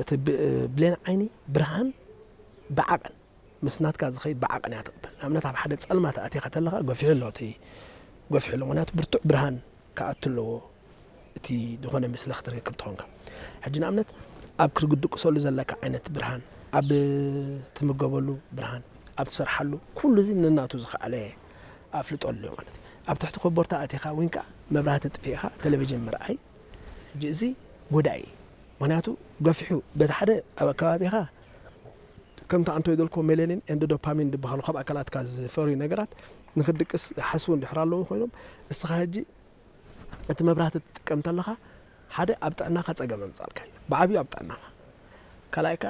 እቲ ብ- ብሌን ዓይኒ ብርሃን ብዓቐን ምስ ናትካ ዝኸይድ ብዓቐን እያ ትቕበል። ንኣብነት ኣብ ሓደ ጸልማት ኣቲኻ ተለኻ ገፊሑ ኣሎ፣ እቲ ገፊሑ ኣሎ፣ ምኽንያቱ ብርቱዕ ብርሃን ክኣቱ ኣለዎ፣ እቲ ዝኾነ ምስሊ ክትረክብ ትኾንካ። ሕጂ ንኣብነት ኣብ ክትድቅሰሉ ዘለካ ዓይነት ብርሃን፣ ኣብ ትምገበሉ ብርሃን፣ ኣብ ትሰርሓሉ፣ ኩሉ እዚ ነናቱ ዝኸኣለ ኣፍልጦ ኣለዮ ማለት እዩ። ኣብ ትሕቲ ኮቦርታ ኣቲኻ ወይ ከዓ መብራህቲ ጥፊእኻ ቴሌቪዥን ምርኣይ፣ ሕጂ እዚ ጎዳኢ እዩ። ምኽንያቱ ገፊሑ በቲ ሓደ ኣብ ኣከባቢኻ ከምቲ ኣንቶይ ደልኮ ሜሌኒን ኤንድ ዶፓሚን ዝበሃሉ ካብ ኣካላትካ ዝፈርዩ ነገራት ንክድቅስ ሓስቡ እንድሕር ኣለዉ ኮይኖም፣ እስኻ ሕጂ እቲ መብራህቲ ትጥቀም እንተለኻ ሓደ ኣብ ጥዕናኻ ጸገም ኣምጻልካ እዩ፣ ብዓብዩ ኣብ ጥዕናኻ። ካልኣይ ከኣ